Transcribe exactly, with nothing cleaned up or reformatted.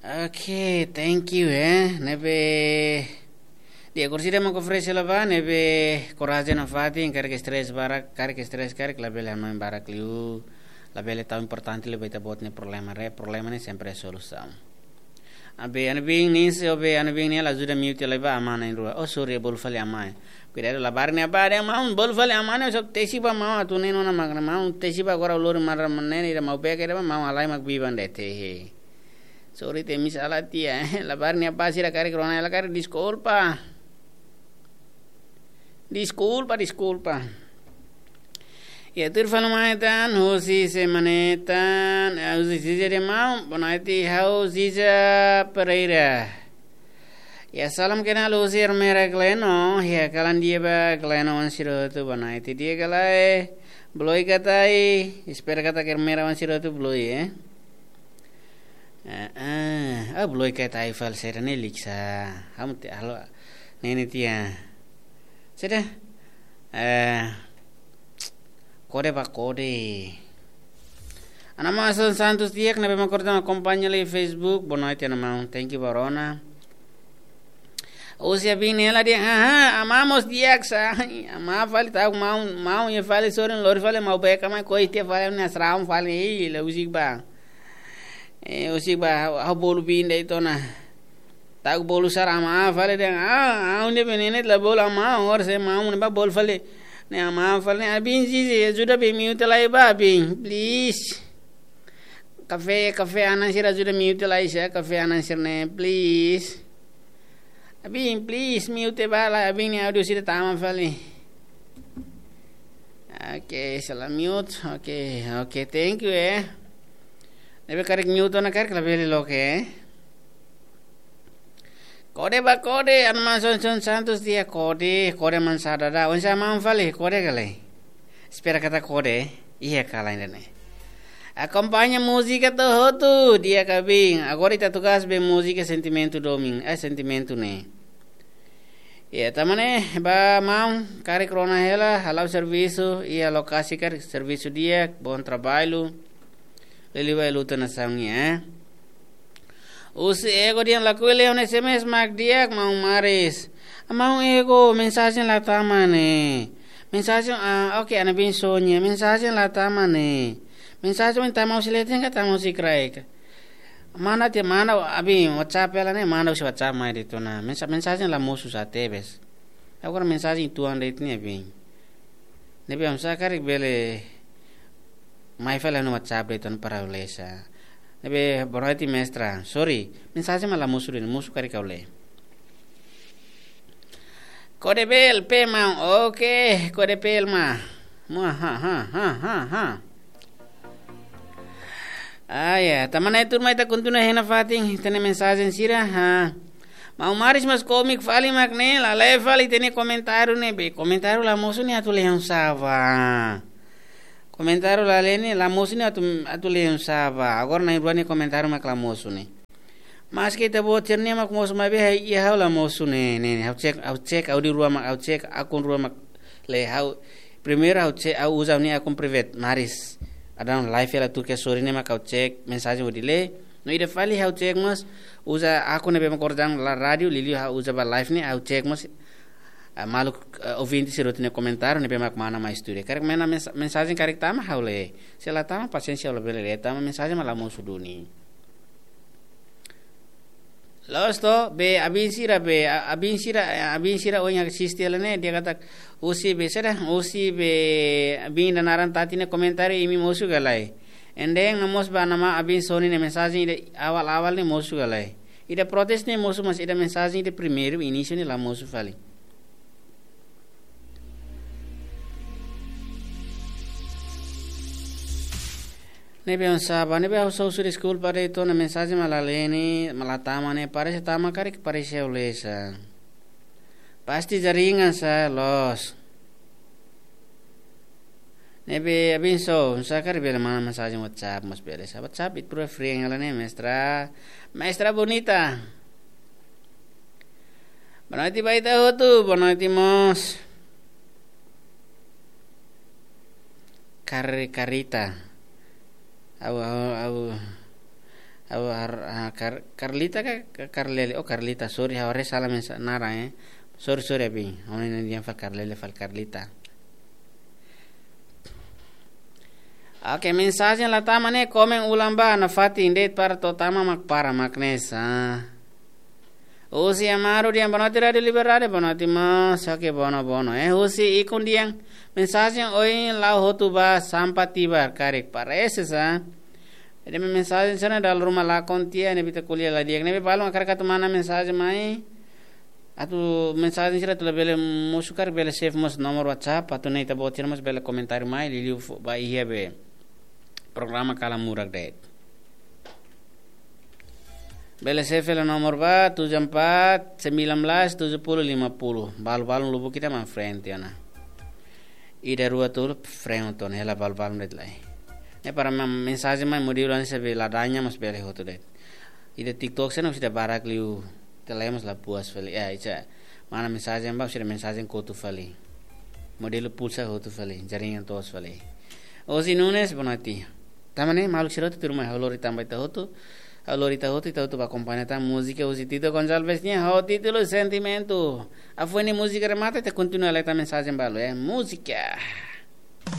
Oke, thank you, eh. Ne'ebé, di'ak, orsida mak oferese la ba, ne'ebé korajen nafatin, karik stress barak, karik stress, karik labele hanoin barak liu, labele tau importante liu ba ita-boot nia problema, re, problema ne'e sempre solusaun. Abe, Ana Bin, nin se, abe, Ana Bin, nia la ajuda mute lai ba, amá na'in-rua. Oh, sorry, bolu fali amá. Kuidadu, labarik nia ba, dehan maun, bolu fali amá ne'e, só tesi ba maun, atu ne'e nona magna, maun, tesi ba agora lori mara manene, ida mau beka, ida ba maun, halai mak biban de'it, he. Sorry, temi sala tiha, eh. Labarik nia ba sira karik rona, ela karik deskulpa. Deskulpa, deskulpa. Ya, tuir fali mai tan, husi semana ne'e tan, eh, husi Ziza de mau, boa noite, ha'u Ziza Pereira. Ya, salam kenal husi Ermera Gleno, ya, kalan di'ak ba Gleno wan sira hotu, boa noite, di'ak ka lae, beloi ka tai, espera katak Ermera wan sira hotu beloi, eh. Eh, eh, ah, beloi ka tai fali sira ne'e liksa. Hamu te alo nene tiha. Sira. Eh, kode ba kode. Ana Mason Santos di'ak ne'ebé mak orsida akompaña lai Facebook. Boa noite, Ana Maun. Thank you ba rona. Husi Abin ne'e la dehan, aha, amá mós di'ak sa. Amá fali ta'uk maun, maun iha fali sorin lori fali mau beka mai koi tiha fali nia sraun fali, ih, la husik ba. Eh, husik ba, ha'u, ha'u bolu Bin de'it ona. Ta'uk bolu sara amá fali dehan, ah, ha'u ne'e benene la bolu amá, orsida maun ne'e ba bolu fali. Ne'e amá fali ne'e, Abin Zizi, ajuda be mute lai ba, Bin, please. Kafé, kafé anan sira ajuda mute lai sa, kafé anan sira ne'e, please. Abin, please, mute ba lai, Abin nia audio sira tama fali. Oke, sala mute. Oke, oke, thank you, eh. Ne'ebé karik mute ona karik labele loke, eh. Kode ba kode, Ana Mason Santos di'ak kode, kode mansá dada. Oinsá maun fali, kode ka lae? Espera katak kode, iha ka lae ne'e. Akompaña múzika to'o hotu, di'ak ka Bin. Agora ita atu gás be múzika sentimentu domin, eh, sentimentu ne'e. Ya, tanba ne'e, ba maun, karik rona hela, hala'o servisu, iha lokasi karik servisu di'ak, bom trabalho. Liuliu ba luta nasaun nian, eh. Husi Ego dehan lakohi lee ona S M S mak di'ak, maun Maris. Maun Ego, mensajen la tama ne'e. Mensajen, ah, oke, Ana Bin Sonia, mensajen la tama ne'e. Mensajen ohin tama husi leten ka tama husi kraik. Manda tiha, manda, Abin, WhatsApp hela ne'e, manda husi WhatsApp mai de'it ona. Mensa-, mensajen la mosu sa tebes. Agora mensajen tuan de'it ne'e, Abin. Ne'ebé oinsá karik bele mai fali ha'u-nia WhatsApp de'it ona para lee sa. Ne'ebé boa noite mestra. Sorry, mensajen mak la mosu de'it, mosu karik ha'u lee. Kode bel pe maun, oke, kode bel ma. Mua, ha, ha, ha, ha, ha. Ah, ya, tanba ne'e tuur mai ita kontinua hein nafatin, ita-nia mensajen sira, ha. Maun Maris mós kómiku fali mak ne'e, la lee fali ita-nia komentáriu ne'e, be komentáriu la mosu ne'e atu lee oinsá ba. Komentáriu la lee ne'e, la mosu ne'e atu, atu lee oinsá ba. Agora na'in-rua nia komentáriu mak la mosu ne'e. Maske ita-boot sira-nia mak mosu maibé, iha ha'u la mosu ne'e, ne'e, ne'e. Ha'u cek, ha'u cek, ha'u di rua mak, ha'u cek, akun rua mak lee ha'u. Primeiru ha'u cek, ha'u uza ha'u-nia akun private, Maris. Ada live hela tuir ke sorry ne'e mak ha'u cek, mensajen hodi lee. No ida fali ha'u cek mós, uza akun ne'ebé mak orsida la rádiu, liuliu ha'u uza ba live ne'e, ha'u cek mós, ah, maluk, ah, ouvinte sira hotu nia komentáriu ne'ebé mak mana mai estúdiu. Karik mana mens-, mensajen karik tama ha'u lee. Se la tama pasiénsia ha'u labele lee, tanba mensajen mak la mosu duni. Loos to, be Abin sira, be, a-, Abin sira, eh, Abin sira ohin asiste hela ne'e, dehan katak, husi be, saida, husi be, Abin ida naran tati nia komentáriu imi mosu ka lae. Ende no mós ba Ana Maun Abin Sonia nia mensajen ida awal-awal ne'e mosu ka lae. Ida protes ne'e mosu, mas ida mensajen ida primeiru, inísiu ne'e la mosu fali. Ne'ebé oinsá ba, ne'ebé ha'u só husu deskulpa de'it ona, mensajen mak la lee ne'e, mak la tama ne'e, parese tama karik, parese ha'u lee sa. Pasti jaringan sa loos. Ne'ebé Abin só, oinsá karik bele mana mensajen WhatsApp, mas bele sa WhatsApp, ita-rua free hela ne'e, mestra. Mestra Bonita. Boa noite ba ita hotu, boa noite mós. Kar-, Karita. Au, au, au. Ha'u har-, ah, Kar-, Carlita ka, ka Carlele? Oh, Carlita, sorry, ha'u haree sala mensa-, naran, eh. Sorry, sorry, abi. Ha'u-nia naran di'ak fali Carlele, fali Carlita. Oke, mensajen la tama ne'e, komen ulang ba, nafatin de'it para to'o tama mak para mak ne'e sa. Husi Amaro dehan boa noite Rádio Liberdade, boa noite mós, oke, boa noite, boa noite. Eh, husi Ikun dehan, mensajen ohin la'o hotu ba, sampa tibar karik, parese sa. Ida-ne'e mensajen sira-ne'e dala ruma lakon tiha, ne'ebé ita ko'alia la di'ak. Ne'ebé balun hakarak atu manda mensajen mai. Atu mensajen sira atu labele mosu karik bele save mós nomor WhatsApp, atu nune'e ita-boot sira mós bele komentáriu mai, liuliu fó ba iha be programa Kala Murak de'it. Bele save fali nomor ba tujuh empat sembilan belas tujuh puluh lima puluh. Balu-balu lubuk ita mai frente ona. Ida rua tolu frente ona, hela balu-balu de'it lai. Ne'e para ma-, mensajen mai modelu hanesan be ladaña mós bele hotu de'it. Ida TikTok sira-ne'e mós ida barak liu, ita lemos la puas fali. Eh, ita manda mensajen ba, sira mensajen kotu fali. Modelu pulsa hotu fali, jaringan toos fali. Ozi Nunes, boa noite. Tama ne'e, maluk sira hotu tuirmai, ha'u lori tan ba ita hotu. Ha'u lori ita hotu, ita hotu ba akompaña tan múzika husi Tito Gonçalves nian, ho títulu Sentimentu. Hafoin ne'e múzika remata, ita kontinua leta mensajen balu, eh. Múzika.